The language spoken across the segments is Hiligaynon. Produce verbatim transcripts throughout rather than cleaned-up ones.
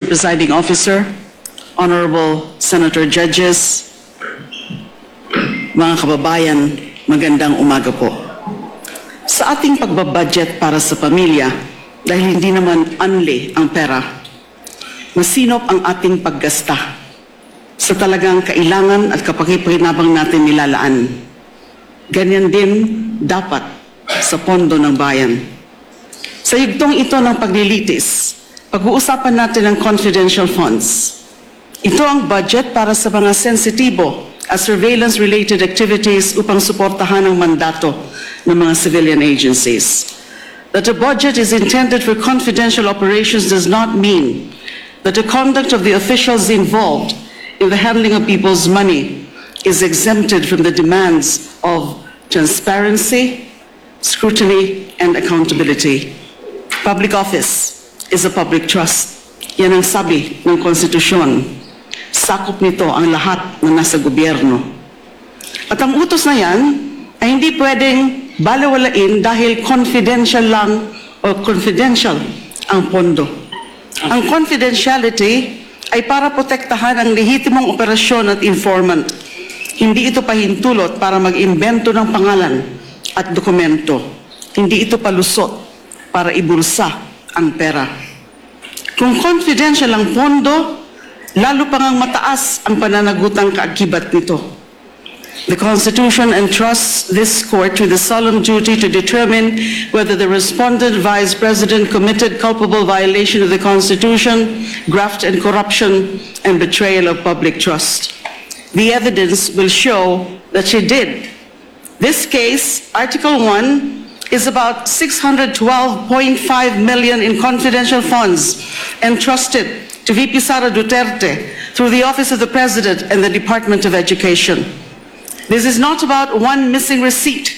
Presiding Officer, Honorable Senator Judges, mga kababayan, magandang umaga po. Sa ating pagbabudget para sa pamilya, dahil hindi naman unli ang pera, masinop ang ating paggasta sa talagang kailangan at kapakipakinabang natin nilalaan. Ganyan din dapat sa pondo ng bayan. Sa yugtong ito ng paglilitis, pag-uusapan natin ang confidential funds. Ito ang budget para sa mga sensitibo at surveillance-related activities upang suportahan ang mandato ng mga civilian agencies. That a budget is intended for confidential operations does not mean that the conduct of the officials involved in the handling of people's money is exempted from the demands of transparency, scrutiny, and accountability. Public office is a public trust. Yan ang sabi ng konstitusyon. Sakop nito ang lahat na nasa gobyerno. At ang utos na yan ay hindi pwedeng balewalain dahil confidential lang o confidential ang pondo. Ang confidentiality ay para protektahan ang lehitimong operasyon at informant. Hindi ito pahintulot para mag-imbento ng pangalan at dokumento. Hindi ito palusot para ibulsa ang pera. Kung confidential ang pondo, lalo pa ngang mataas ang pananagutang kaakibat nito. The Constitution entrusts this court with the solemn duty to determine whether the respondent vice president committed culpable violation of the Constitution, graft and corruption, and betrayal of public trust. The evidence will show that she did. This case, Article one, is about six hundred twelve point five million in confidential funds entrusted to V P Sara Duterte through the Office of the President and the Department of Education. This is not about one missing receipt.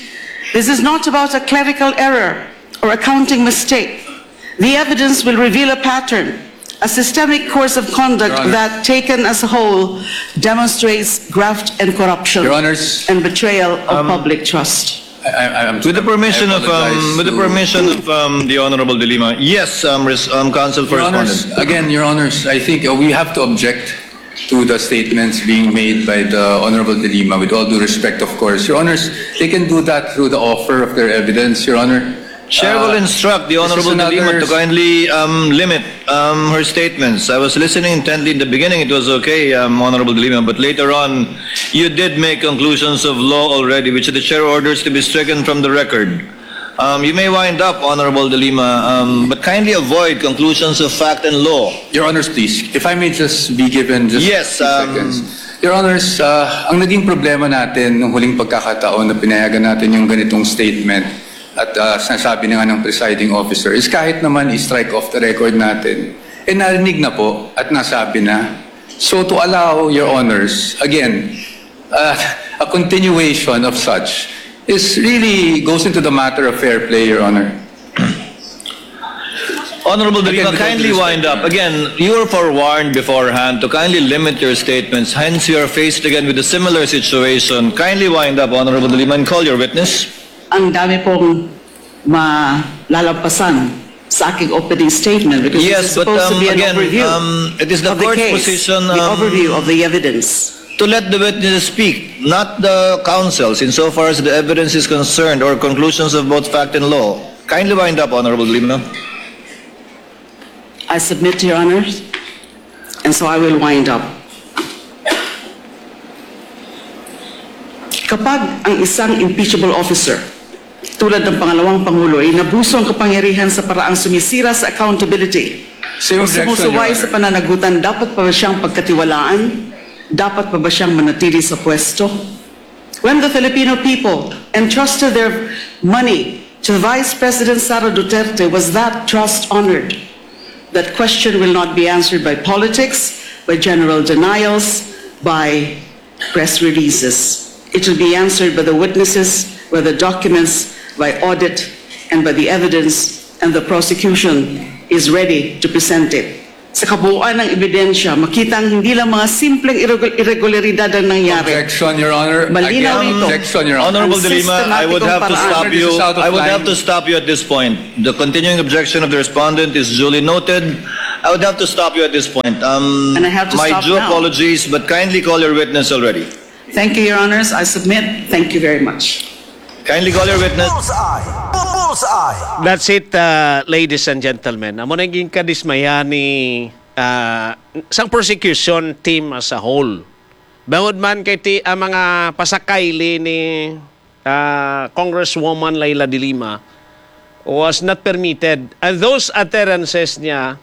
This is not about a clerical error or accounting mistake. The evidence will reveal a pattern, a systemic course of conduct Your Honor. That, taken as a whole, demonstrates graft and corruption Your Honors, and betrayal of um, public trust. I, I, I'm, With the permission I of, um, apologize with the to permission of, um, the Honorable De Lima. Yes, um, res-, um, Counsel for Your Honors, Respondent. Again, Your Honors, I think, uh, we have to object to the statements being made by the Honorable De Lima, with all due respect, of course. Your Honors, they can do that through the offer of their evidence, Your Honor. Chair will Uh, instruct the this is Honorable De Lima another to kindly, um, limit, um, her statements. I was listening intently in the beginning, it was okay, um, Honorable De Lima, but later on, you did make conclusions of law already, which the chair orders to be stricken from the record. Um, you may wind up, Honorable De Lima, um, but kindly avoid conclusions of fact and law. Your Honors, please, if I may just be given just Yes, a few um, seconds. Your Honors, uh, ang naging problema natin nung huling pagkakataon na pinayagan natin yung ganitong statement at, uh, sinasabi na nga ng presiding officer is kahit naman i-strike off the record natin, eh narinig na po at nasabi na. So to allow, Your Honors, again, uh, a continuation of such is really goes into the matter of fair play, Your Honor. Honorable De Lima, Again, with all due kindly respect, wind up. Your Honor. Again, you were forewarned beforehand to kindly limit your statements. Hence, you are faced again with a similar situation. Kindly wind up, Honorable De Lima, and call your witness. Ang dami pong malalampasan sa aking opening statement because this Yes, is but, supposed to um, be an again, overview um, it is the of the court's case, position, the um, overview of the evidence. To let the witnesses speak, not the counsels, insofar as the evidence is concerned or conclusions of both fact and law. Kindly wind up, Honorable De Lima. I submit to Your Honors, and so I will wind up. Kapag ang isang impeachable officer, tulad ng pangalawang pangulo, ay inabuso ang kapangyarihan sa paraang sumisira sa accountability Same o objection, sumusuway Your sa Honor. Pananagutan, dapat pa ba siyang pagkatiwalaan? Dapat pa ba siyang manatili sa pwesto? When the Filipino people entrusted their money to Vice President Sara Duterte, was that trust honored? That question will not be answered by politics, by general denials, by press releases. It will be answered by the witnesses, by the documents, by audit, and by the evidence, and the prosecution is ready to present it. Sa kabuuan ng ebidensya, makita ang hindi lang mga simpleng irregu-, irregularidad ang nangyari. Objection, Your Honor. Malinaw Again, ito. Objection, Your Honor. Honorable Ang De Lima, I would sistematikong have to paraan. stop This you. is out of I would have line. to stop you at this point. The continuing objection of the respondent is duly noted. I would have to stop you at this point. Um, And I have to my stop due now. apologies, but kindly call your witness already. Thank you, Your Honors. I submit. Thank you very much. Kindly call your witness. Bullseye! Bullseye! That's it, uh, ladies and gentlemen. Amo na yung kadismaya ni uh, sang prosecution team as a whole. Bangod man kay ti ang mga pasakayli ni uh, Congresswoman Leila de Lima was not permitted. And those utterances niya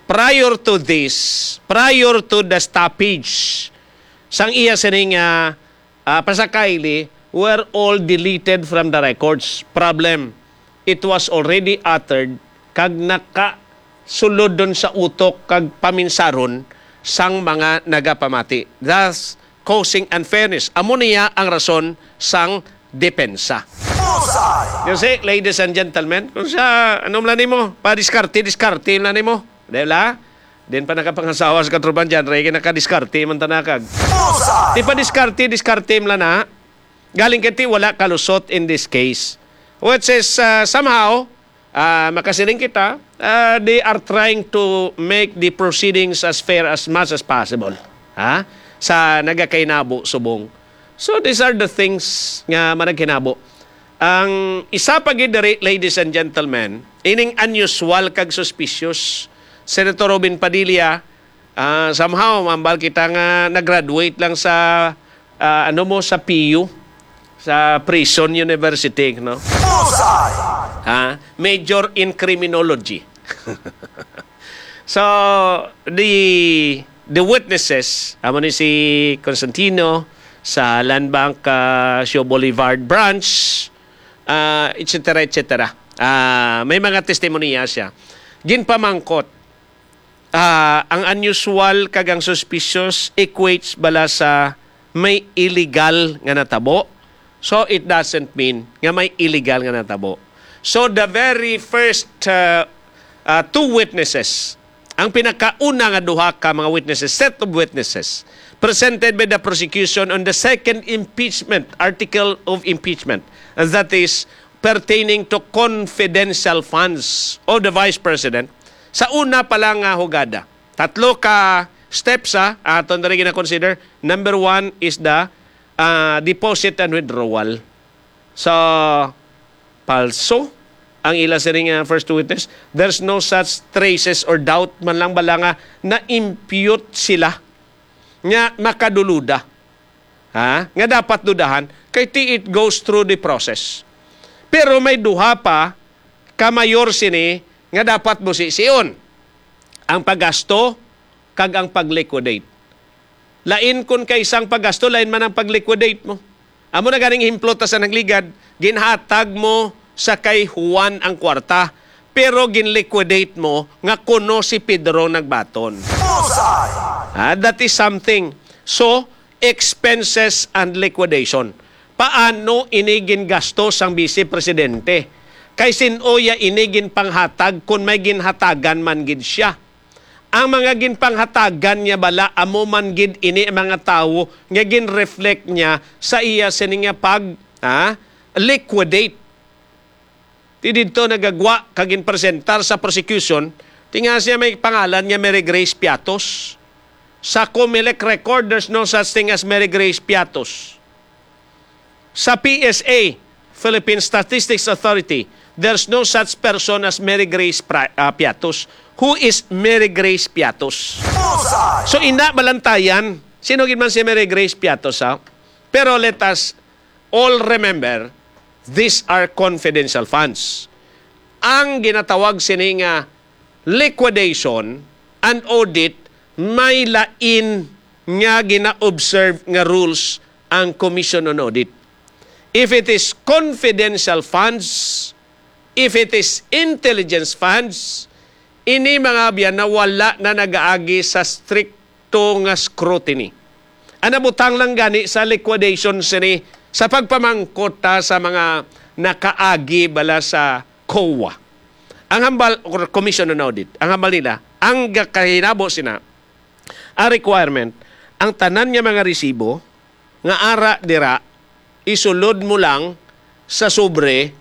prior to this, priyor to the stoppage, sang iya sining uh, uh, pasakayli were all deleted from the records. Problem, it was already uttered kag nakasulod dun sa utok kag paminsaron sang mga nagapamati, thus causing unfairness. Amo niya ang rason sang depensa. Bullseye! You see, ladies and gentlemen, kung sa, ano man nimo, padiskarte, diskarte man nimo. Di ba? Din pa nakapangasawa sa katrupan dyan, Rey, kay nakadiskarte man tanakag. Bullseye! Di pa diskarte, diskarte man na. Galing kay ti wala kalusot in this case. Which is, uh, somehow, uh, makasiling kita, uh, they are trying to make the proceedings as fair as much as possible. Ha? Sa nagakainabo subong. So these are the things nga managhinabo. Ang isa pa gid diri, ladies and gentlemen, ining unusual kag suspicious. Senator Robin Padilla, ah, somehow, mambal kita nga nag-graduate lang sa, ah, ano mo, sa P U, sa Prison University, no? Bullseye! Ha? Major in criminology. So, the the witnesses, amo ni si Constantino sa Land Bank, uh, Sio Boulevard Branch, uh, et cetera, et cetera. Uh, may mga testimonya siya. Ginpamangkot, uh, ang unusual kag ang suspicious equates bala sa may illegal nga natabo. So, it doesn't mean nga may illegal nga natabo. So, the very first uh, uh, two witnesses, ang pinakauna nga duha ka mga witnesses, set of witnesses, presented by the prosecution on the second impeachment, article of impeachment, that is, pertaining to confidential funds of the Vice President, sa una pa lang nga hugada. Tatlo ka steps, ha, aton diri gina-consider. Number one is the uh, deposit and withdrawal. So, palso ang ila sining uh, first witness. There's no such traces or doubt man lang bala nga na-impute sila nga makaduluda. Ha? Nga dapat dudahan kay ti it goes through the process. Pero may duha pa ka mayor sini nga dapat busision. Ang paggasto kag ang pag-liquidate. Lain kun kay sang paggasto, lain man ang pag-liquidate mo. Amo na ganing ehemplo ta sa nagligad, ginhatag mo sa kay Juan ang kwarta, pero gin-liquidate mo nga kuno si Pedro nagbaton. Bullseye! Ah, that is something. So, expenses and liquidation. Paano ini gingasto sang Vice Presidente? Kay sin-o ya ini ginpanghatag kun may ginhatagan man gid siya? Ang mga ginpanghatagan niya bala, amo man gid ini ang mga tawo nga gin-reflect niya sa iya sini nga pag, ah, liquidate. Ti didto nagagwa kag ginpresentar sa prosecution, ti nga siya may pangalan nga Mary Grace Piatos. Sa Comelec record, there's no such thing as Mary Grace Piatos. Sa P S A, Philippine Statistics Authority, there's no such person as Mary Grace Pri- ah, Piatos. Who is Mary Grace Piatos? Bullseye! So, ina balantayan, sino gid man si Mary Grace Piatos, ha? Pero let us all remember, these are confidential funds. Ang ginatawag sini nga liquidation and audit may lain nga gina-observe nga rules ang Commission on Audit. If it is confidential funds, if it is intelligence funds, ini mga abyan na wala na nagaagi sa stricto nga scrutiny. Ang nabutang lang gani sa liquidation sini sa pagpamangkot ta sa mga nakaagi bala sa COA. Ang hambal, or Commission on Audit, ang hambal nila, ang gakahinabo sina, ang requirement, ang tanan nga mga resibo nga ara dira, isulod mo lang sa sobre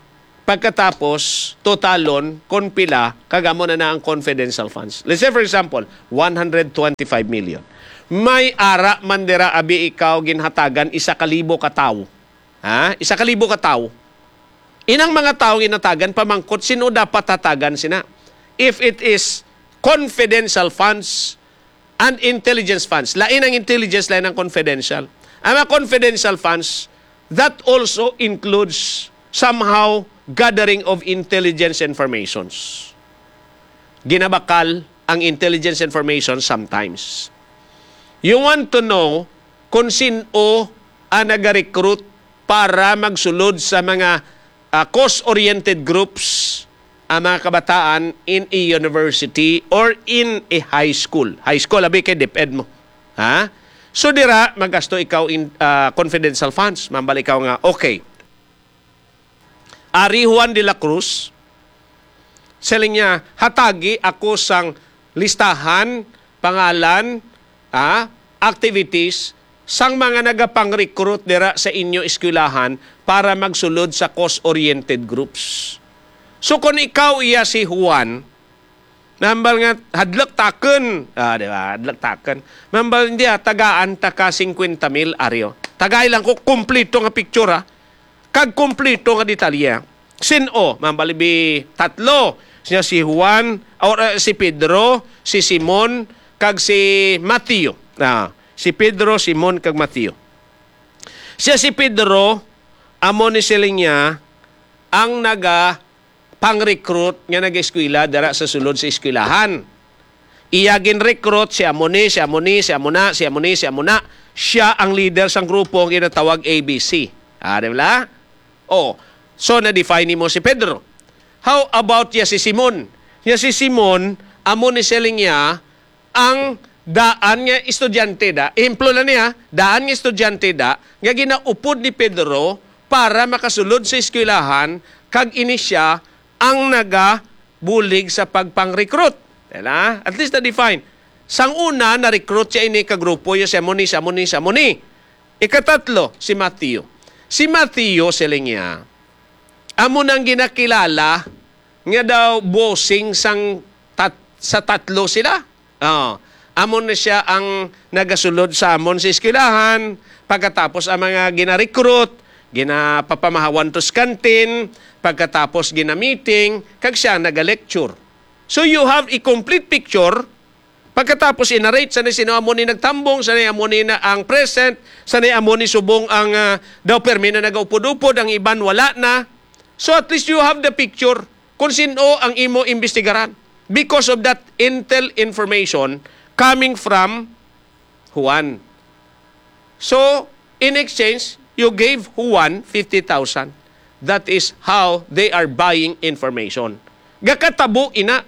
Pagkatapos, totalon kon pila, kag amo na na ang confidential funds. Let's say, for example, one hundred twenty-five million. May ara man dira, abi, ikaw ginhatagan isa ka libo ka tawo. Ha? Isa ka libo ka tawo. Inang mga tawo ginhatagan, pamangkot, sino dapat hatagan sina? If it is confidential funds and intelligence funds, lain ang intelligence, lain ang confidential. Ang mga confidential funds, that also includes somehow gathering of intelligence informations. Ginabakal ang intelligence information sometimes. You want to know kung sino ang nag-recruit para magsulod sa mga, ah, cause-oriented groups ang mga kabataan in a university or in a high school. High school, abi, kay DepEd mo. Ha? So, dira, magasto ikaw in, ah, confidential funds. Mambal ikaw nga, okay. Ari Juan de la Cruz, siling niya, hatagi ako sang listahan, pangalan, ah, activities sang mga nagapang-recruit dira sa inyo eskwelahan para magsulod sa cause-oriented groups. So, kung ikaw iya si Juan, nambal nga, "Hadlok takon." Ah, di ba? "Hadlok takon." Mambal, "Hindi, ah, tagaan ta ka singkwenta mil, Aryo." Tagay lang ko, kumplito nga picture, ah. Kag kumplito nga detalye. Sin-o, mambal, ibi tatlo. Siya si Juan, or, eh, si Pedro, si Simon, kag si Mateo. Ah, si Pedro, Simon, kag Mateo. Siya si Pedro, amo ni siling niya, ang naga pang-recruit nga nag-eskwela dira sa sulod sa eskwelahan. Iya gin-recruit si amo ni, si amo ni, si amo na, si amo ni, si amo na. Siya ang leader sang grupo nga ginatawag A B C. Ah, di ba? Oh, so na-define nimo si Pedro. How about ya si Simon? Ya si Simon, amo ni siling niya, ang daan nga estudyante da, ehemplo na niya, daan nga estudyante da, nga ginaupod ni Pedro para makasulod sa eskwelahan, kag ini sia ang nagabulig sa pagpang-recruit. Diba? At least na-define. Sang una, na-recruit siya ini ka grupo, ya si amo ni, si amo ni, si amo ni. Ikatatlo, si Mateo. Si Mateo, siling niya, amo nang ginakilala nga daw bossing sang tat-, sa tatlo sila. Oh, amo na siya ang nagasulod sa amon sa eskwelahan. Pagkatapos ang mga gina-recruit, ginapapamahawan to sa kantin, pagkatapos gina-meeting, kag siya naga-lecture. So you have a complete picture. Pagkatapos, i-narrate, sanay sino amo ni nagtambong, sanay amo ni na ang present, sanay amo ni subong ang, ah, daw permi na nagaupod-upod, ang iban wala na. So at least you have the picture kung sino ang imo imbestigaran because of that intel information coming from Juan. So, in exchange, you gave Juan fifty thousand. That is how they are buying information. Gakatabo ina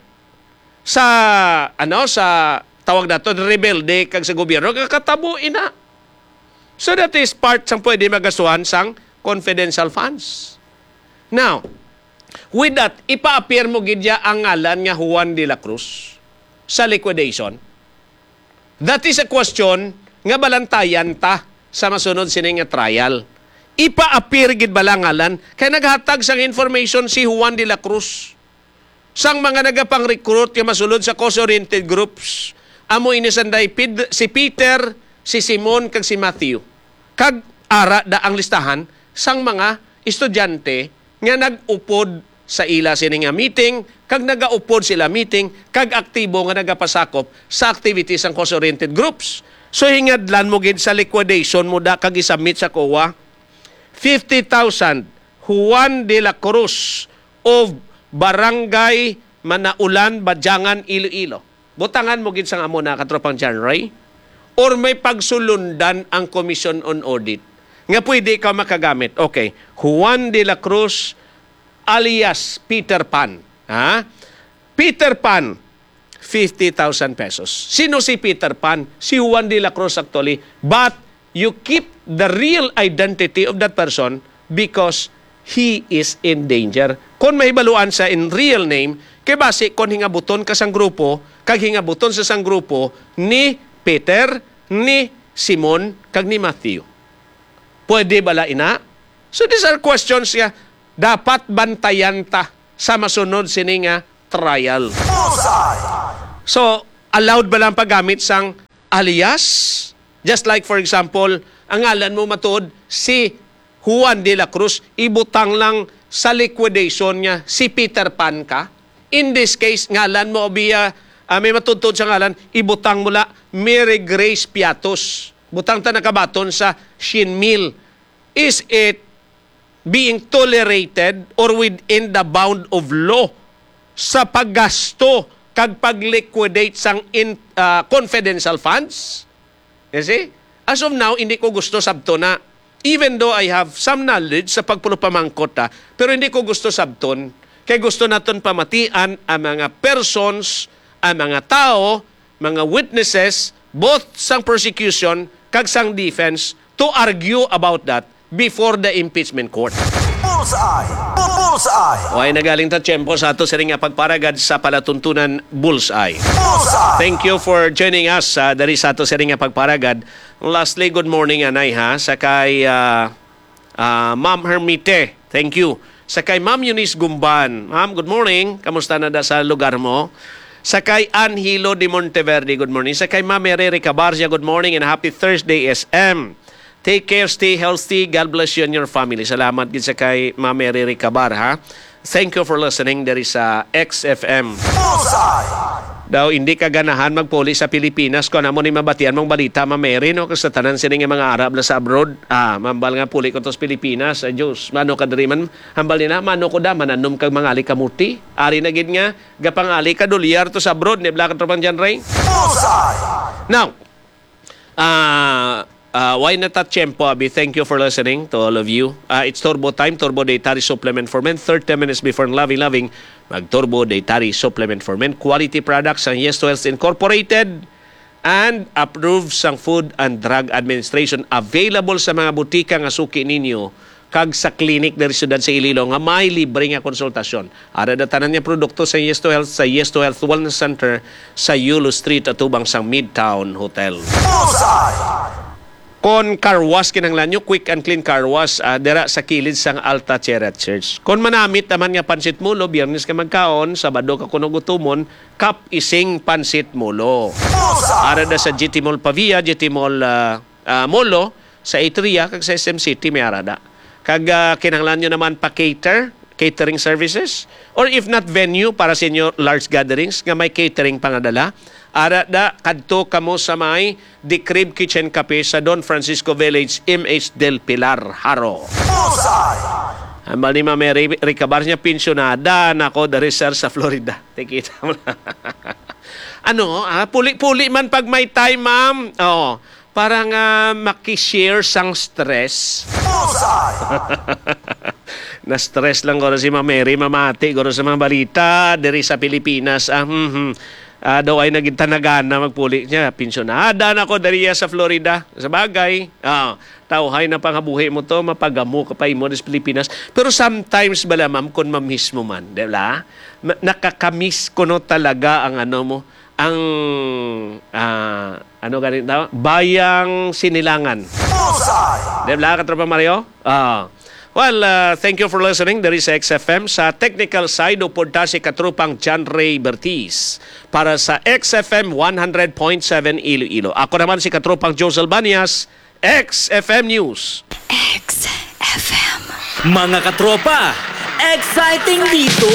sa, ano, sa tawag nato, rebelde kag sa gobyerno, gakatabo ina. So that is part sang pwede magastuhan sang confidential funds. Now, with that, ipa-appear mo gid ya ang ngalan nga Juan de la Cruz sa liquidation. That is a question nga balantayan ta sa masunod sini nga trial. Ipa-appear gid bala ngalan kay naghatag sang information si Juan de la Cruz sang mga nagapang-recruit nga masulod sa cause-oriented groups. Amo ini sanday Ped-, si Peter, si Simon, kag si Matthew. Kag ara da ang listahan sang mga estudyante nga nag-upod sa ila sini nga meeting, kag nagaupod sila meeting, kag aktibo nga nagapasakop sa activities sang cause-oriented groups. So, hingadlan mo gid sa liquidation mo da kag isubmit sa COA. Fifty thousand, Juan de la Cruz of Barangay Manaulan, Badiangan, Iloilo. Butangan mo gid sang amo na, Katropang John Ray, or may pagsulundan ang Commission on Audit nga pwede ka makagamit. Okay, Juan de la Cruz alias Peter Pan. Ha? Peter Pan, fifty thousand pesos. Sino si Peter Pan? Si Juan de la Cruz actually. But you keep the real identity of that person because he is in danger. Kon mahibaluan sa in real name, kay basi kon hingabuton ka sang grupo, kag hingabuton sa sang grupo ni Peter, ni Simon, kag ni Matthew. Pwede bala ina? So these are questions nga dapat bantayan ta sa masunod sini nga trial. Bullseye! So, allowed ba lang paggamit sang alias? Just like, for example, ang ngalan mo matuod si Juan de la Cruz, ibutang lang sa liquidation nga si Peter Pan ka. In this case, ngalan mo, biya, ah, may matudtod sa ngalan, ibutang mo la Mary Grace Piatos. Butang ta nakabaton sa siyam mil. Is it being tolerated or within the bound of law sa paggasto kag pag-liquidate sang in, ah, confidential funds? You see? As of now, hindi ko gusto sabton na. Even though I have some knowledge sa pagpulupamangkot, ha, pero hindi ko gusto sabton. Kay gusto naton pamatian ang mga persons, ang mga tao, mga witnesses, both sang prosecution kag sang defense to argue about that before the impeachment court. Bullseye! Bu-, Bullseye! O ay nagaling ta tiyempo sa ato siring nga pagparagad sa palatuntunan Bullseye. Bullseye! Thank you for joining us, ah, diri sa ato siring nga pagparagad. Lastly, good morning, anay, ha, sa kay, ah, ah, Ma'am Hermite. Thank you. Sa kay Ma'am Eunice Gumban. Ma'am, good morning. Kamusta na da sa lugar mo? Sa kay Anhilo de Monteverde, good morning. Sa kay Ma'am Mary Ricabarcia, good morning and happy Thursday, S M. Take care, stay healthy. God bless you and your family. Salamat gid sa kay Ma'am Mary Ricabar, ha. Thank you for listening diri sa X F M. Bullseye! Daw hindi ka ganahan magpuli sa Pilipinas kung amo ni mabatian mong balita, Ma'am Mary, no? Kag sa tanan sini nga mga Arab na sa abroad, ah, mambal nga puli ko to sa Pilipinas, ay Diyos, mano ka diri man, hambal nila, mano ko da, mananom kag mangali kamuti. Ari na gid nga, gapangali ka dolyar to sa abroad, ni Black Tropang John Ray. Bullseye! Now, ah, ah, why na ta tiyempo, abi? Thank you for listening to all of you. Ah, it's Turbo Time, Turbo Dietary Supplement for Men, thirty minutes before loving, loving. Mag Turbo Dietary Supplement for Men, quality products sang Yes to Health Incorporated and approved sang Food and Drug Administration. Available sa mga butika nga suki ninyo kag sa klinik diri sa siyudad sa Iloilo nga may libre nga konsultasyon. Ara da tanan nga produkto sa Yes to Health, sa Yes to Health Wellness Center sa Yulo Street, atubang sang Midtown Hotel. Bullseye! Kon car wash kinahanglan nyo, Quick and Clean Car Wash, ah, dira sa kilid sang Alta Sierra Church. Kon manamit naman nga pansit mulo, Biyernes ka magkaon, Sabado ka kuno gutumon, Cup Ising Pansit Mulo. Bullseye! Ara da sa G T Mall Pavia, G T Mall, ah, ah, Molo, sa Atria, kag sa S M City may ara da. Kag, ah, kinahanglan nyo naman pa-cater, catering services, or if not, venue para sa inyo large gatherings nga may catering pangadala, ara da, kadto kamo sa may The Crib Kitchen Cafe sa Don Francisco Village, M H Del Pilar, Jaro. Bullseye! Hambal ni Ma'am Mary Ricabar niya, "Pensyonada na ko diri, sir, sa Florida." Tikita mo lang. Ano, ah, puli-puli man pag may time, ma'am. Oh, para nga makishare sang stress. Bullseye! Na-stress lang guro si Ma'am Mary, mamati guro sa mga balita diri sa Pilipinas. Ah, mhm. Ah, daw ay naging tanagana magpuli niya. "Pensyonada na ko diri sa Florida." Sa bagay, ah, tawhay na pangabuhi mo to, mapagamo ka pa imo sa Pilipinas. Pero sometimes bala, ma'am, kung mamiss mo man, di ba? Ma-, nakakamiss kuno talaga ang ano mo, ang, ah, ano gani tawag? Bayang sinilangan. Bullseye! Di ba, Katropa Mario? Ah. Well, ah, thank you for listening. There is X F M. Sa technical side, upod ta si Katropang John Ray Bertiz. Para sa X F M one hundred point seven Iloilo. Ako naman si Katropang Josel Banias, X F M News. X F M. Mga katropa, exciting dito!